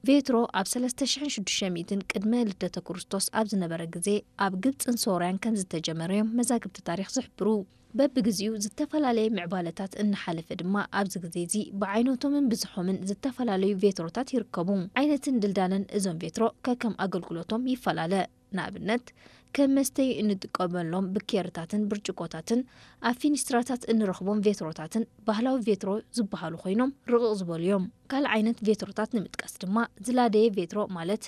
ቬትሮ ኣብ ሰለስተ ሽሕን ሽዱሽተ ሚእትን ቅድመ ልደተ ክርስቶስ ኣብ ዝነበረ ግዜ ኣብ ግብጽን ሶርያን ከም ዝተጀመረ እዮም መዛግብቲ ታሪኽ ዝሕብሩ። በብግዜኡ ዝተፈላለየ ምዕባለታት እናሓለፈ ድማ ኣብዚ ግዜ እዚ ብዓይነቶምን ብዝሖምን ዝተፈላለዩ ቬትሮታት ይርከቡ። ዓይነትን ድልዳለን እዞም ቬትሮ ከከም ኣገልግሎቶም ይፈላለ። ንኣብነት ከም መስተዩ እንጥቀመሎም ብኬርታትን ብርጭቆታትን ኣብ ፊኒስትራታት እንረኽቦም ቬትሮታትን ባህላዊ ቬትሮ ዝበሃሉ ኮይኖም ርቕቕ ዝበሉ እዮም። ካልእ ዓይነት ቬትሮታት ንምጥቃስ ድማ ዝላደየ ቬትሮ ማለት